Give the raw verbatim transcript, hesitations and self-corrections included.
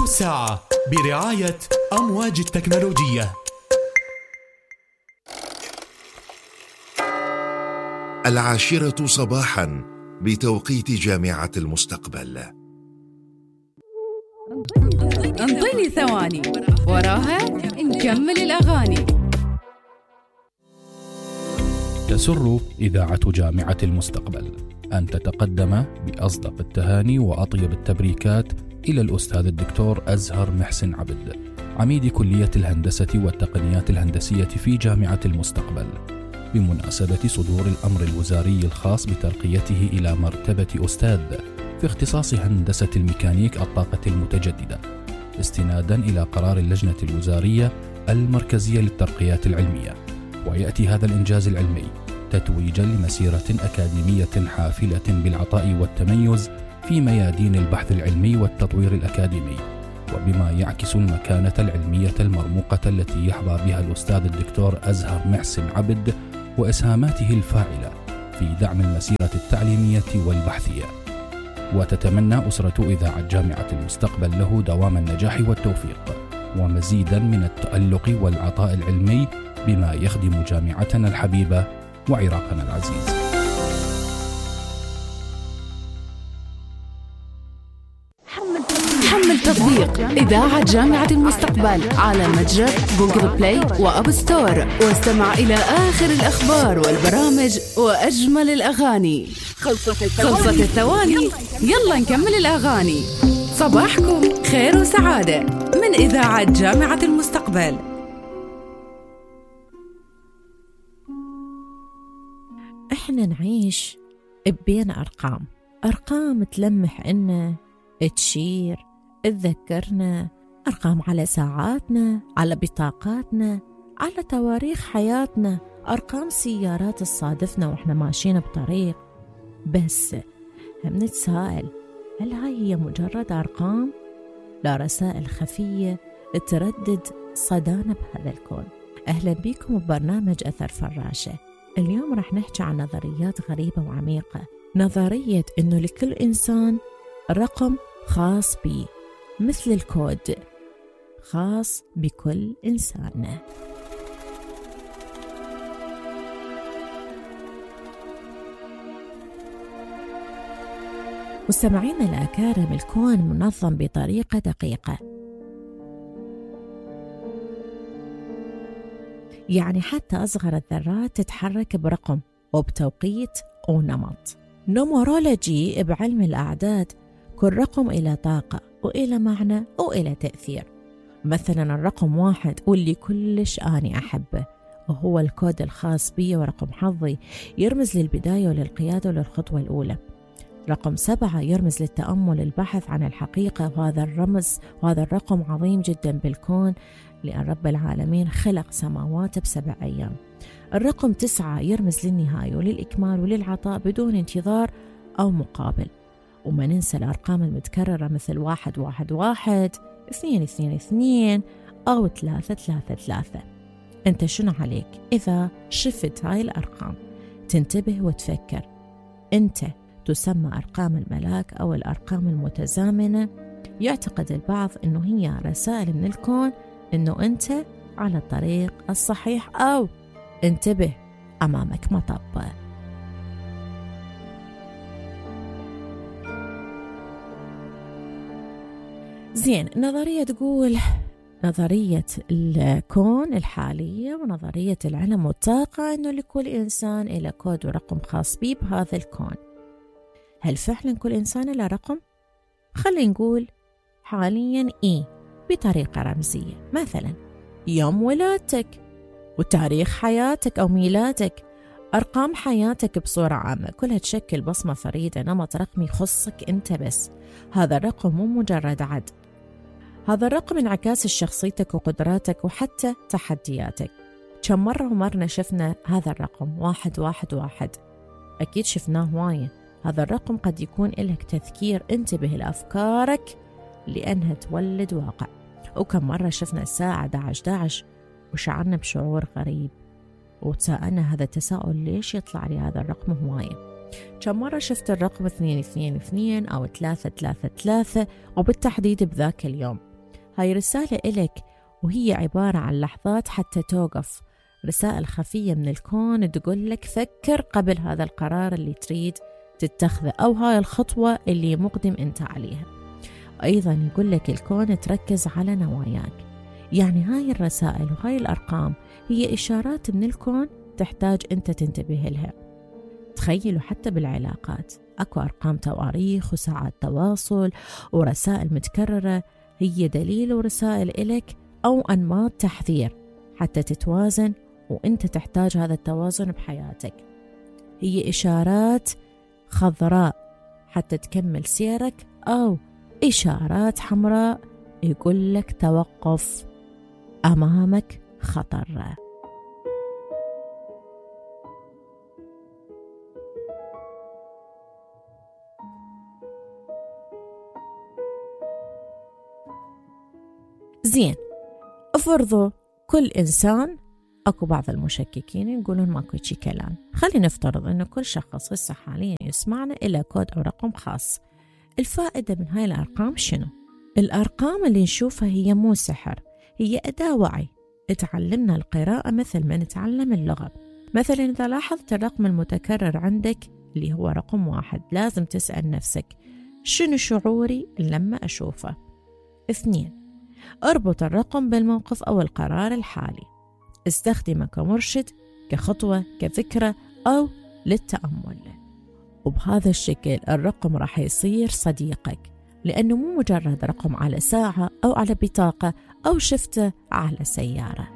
الساعة برعاية أمواج التكنولوجية. العاشرة صباحا بتوقيت جامعة المستقبل. انطيني ثواني وراها نكمل الأغاني. تسر إذاعة جامعة المستقبل أن تتقدم بأصدق التهاني وأطيب التبريكات إلى الأستاذ الدكتور أزهر محسن عبد، عميد كلية الهندسة والتقنيات الهندسية في جامعة المستقبل، بمناسبة صدور الأمر الوزاري الخاص بترقيته إلى مرتبة أستاذ في اختصاص هندسة الميكانيك الطاقة المتجددة، استنادا إلى قرار اللجنة الوزارية المركزية للترقيات العلمية. ويأتي هذا الإنجاز العلمي تتويجا لمسيرة أكاديمية حافلة بالعطاء والتميز في ميادين البحث العلمي والتطوير الأكاديمي، وبما يعكس المكانة العلمية المرموقة التي يحظى بها الأستاذ الدكتور أزهر محسن عبد وإسهاماته الفاعلة في دعم المسيرة التعليمية والبحثية. وتتمنى أسرة إذاعة جامعة المستقبل له دوام النجاح والتوفيق ومزيدا من التألق والعطاء العلمي بما يخدم جامعتنا الحبيبة وعراقنا العزيز. حمل تطبيق إذاعة جامعة المستقبل على متجر جوجل بلاي وأب ستور، واستمع إلى آخر الأخبار والبرامج وأجمل الأغاني. خلصت الثواني، يلا نكمل الأغاني. صباحكم خير وسعادة من إذاعة جامعة المستقبل. احنا نعيش بين أرقام أرقام تلمح إنا، تشير، تذكرنا، أرقام على ساعاتنا، على بطاقاتنا، على تواريخ حياتنا، أرقام سيارات تصادفنا وإحنا ماشيين بطريق. بس هم نتساءل، هل هاي هي مجرد أرقام؟ لا، رسائل خفية تردد صدانا بهذا الكون. أهلا بكم ببرنامج أثر فراشة. اليوم رح نحكي عن نظريات غريبة وعميقة. نظرية إنه لكل إنسان رقم خاص بيه، مثل الكود خاص بكل إنسان. مستمعينا الأكارم، الكون منظم بطريقة دقيقة، يعني حتى أصغر الذرات تتحرك برقم وبتوقيت ونمط. نومرولوجي بعلم الأعداد، كل رقم إلى طاقة وإلى معنى وإلى تأثير. مثلا الرقم واحد واللي كلش أني أحبه وهو الكود الخاص بي ورقم حظي، يرمز للبداية وللقيادة وللخطوة الأولى. رقم سبعة يرمز للتأمل، البحث عن الحقيقة، وهذا الرمز وهذا الرقم عظيم جدا بالكون، لأن رب العالمين خلق سماوات بسبع أيام. الرقم تسعة يرمز للنهاية وللإكمال وللعطاء بدون انتظار أو مقابل. وما ننسى الأرقام المتكررة مثل واحد واحد واحد، اثنين اثنين اثنين، أو ثلاثة ثلاثة ثلاثة. أنت شنو عليك إذا شفت هاي الأرقام؟ تنتبه وتفكر. أنت تسمى أرقام الملاك أو الأرقام المتزامنة. يعتقد البعض أنه هي رسائل من الكون أنه أنت على الطريق الصحيح، أو انتبه أمامك مطب. زين، نظرية تقول نظرية الكون الحالية ونظرية العلم والطاقة أنه لكل إنسان إلى كود ورقم خاص به بهذا الكون. هل فعلا كل إنسان له رقم؟ خلينا نقول حاليا إيه بطريقة رمزية، مثلا يوم ولادتك وتاريخ حياتك أو ميلادك، أرقام حياتك بصورة عامة كلها تشكل بصمة فريدة، نمط رقمي يخصك أنت بس. هذا الرقم مو مجرد عد، هذا الرقم انعكاس شخصيتك وقدراتك وحتى تحدياتك. كم مرة ومرنا شفنا هذا الرقم واحد واحد واحد؟ أكيد شفناه وايد. هذا الرقم قد يكون لك تذكير، انتبه لأفكارك لأنها تولد واقع. وكم مرة شفنا الساعة أحد عشر أحد عشر وشعرنا بشعور غريب وتساءلنا هذا التساؤل ليش يطلع لي هذا الرقم هواية. كم مرة شفت الرقم اثنين اثنين اثنين أو ثلاثة ثلاثة ثلاثة وبالتحديد بذاك اليوم. هاي رسالة إلك، وهي عبارة عن لحظات حتى توقف، رسائل خفية من الكون تقول لك فكر قبل هذا القرار اللي تريد تتخذه، أو هاي الخطوة اللي مقدم أنت عليها. أيضا يقول لك الكون تركز على نواياك. يعني هاي الرسائل وهاي الأرقام هي إشارات من الكون تحتاج أنت تنتبه لها. تخيلوا حتى بالعلاقات أكو أرقام تواريخ وساعات تواصل ورسائل متكررة، هي دليل ورسائل إلك أو أنماط تحذير حتى تتوازن، وأنت تحتاج هذا التوازن بحياتك. هي إشارات خضراء حتى تكمل سيرك، أو إشارات حمراء يقول لك توقف، أمامك خطر. زين، افرضوا كل إنسان، أكو بعض المشككين يقولون ماكو شي كلام، خلينا نفترض أنه كل شخص هسه حاليا يسمعنا إلى كود أو رقم خاص. الفائدة من هاي الأرقام شنو؟ الأرقام اللي نشوفها هي مو سحر، هي أداة وعي تعلمنا القراءة مثل ما نتعلم اللغة. مثلا إذا لاحظت الرقم المتكرر عندك اللي هو رقم واحد، لازم تسأل نفسك شنو شعوري لما أشوفه؟ اثنين، اربط الرقم بالموقف أو القرار الحالي، استخدمه كمرشد، كخطوة، كفكرة أو للتأمل. وبهذا الشكل الرقم راح يصير صديقك، لأنه مو مجرد رقم على ساعة أو على بطاقة أو شفته على سيارة.